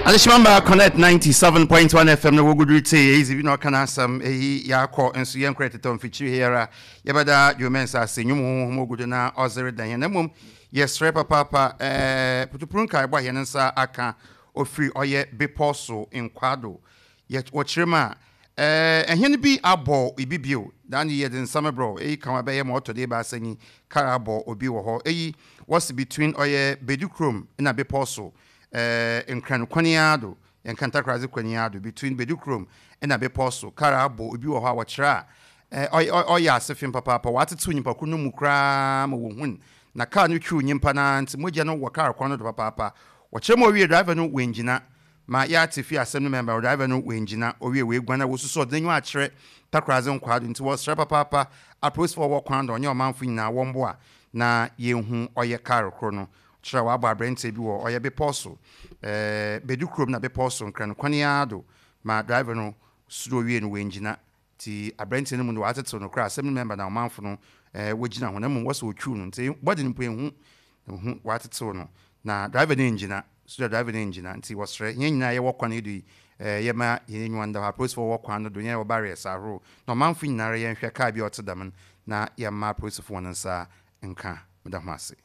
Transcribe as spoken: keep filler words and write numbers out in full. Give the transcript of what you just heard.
Adehyemamba Connect ninety-seven point one F M na wɔgudu tee eyi bi na ɔka n'asɛm eyi yɛakɔ nso yɛnkora tetɔ mfikyiri here yɛbɛda dwomɛnsa ase nnwom honhom ogudu na ɔzere dan yɛn na mmom yɛsrɛ papaapa ɛɛ putupuru nkaebɔ a yɛn nsa aka ofiri ɔyɛ bepɔ so nkwado yɛ wɔkyerɛ mu a ɛɛ ɛhɛn bi abɔ ibi bio dan yɛde nsɛm brɔ eyi kan bɛyɛ ma ɔtɔ de baasa nyi kar abɔ obi wɔ hɔ. Eyi wɔsi between ɔyɛ Bedukurom na bepɔ so ɛɛ Nkran kwan do, Nkantakraze kwan do, between Bedukurom ɛna bepɔ so, kar abɔ obi wɔ hɔ a wɔkyerɛ a ɛɛ ɔyɛ ase fim papaapa. Wɔatetew nipa ko no mu koraa ma wɔhun na kaa no twiw nyimpa naa nti mogya no wɔ kaa kwan no do papaapa. Wɔkyerɛ mu owie, driver no wɔngyina ma yɛate fi asɛm no mɛmba. Driver no wɔngyina owie, wɔeguan a wɔsusu ɔde n'enyiwa akyerɛ Takoradze nkwaa do. Nti wɔsrɛ papaapa apolisifoɔ wɔ kwan do, ɔnyɛ ɔmanfo nyinaa wɔmboa na yɛnhu ɔyɛ kaa koro no. Kyerɛ wɔabɔ aberanteɛ bi wɔ ɔyɛ bepɔ so ɛɛ Bedu kurom na bepɔ so Nkran kwan ara do ma driver no soro wie no wɔngyina nti aberanteɛ no mu no wɔatetew no koraa. Asɛm no mɛmba na ɔmanfo no ɛɛ wɔgyina ho na mmom wɔsɛ wɔtwiw no nti bɔde no mpo ehu ehu wɔatetew no na driver no ngyina so, driver no ngyina. Nti wɔsrɛ yɛn nyinaa yɛwɔ kwan yi do yi ɛɛ yɛma yɛn enyiwa nda hɔ. Apolisifoɔ wɔ kwan no do, yɛn wɔ barriers ahorow na ɔmanfo nyinaa yɛnhwɛ kaa bi a ɔte dɛm no na yɛma apolisifoɔ wɔn nsa nka. Meda ho ase.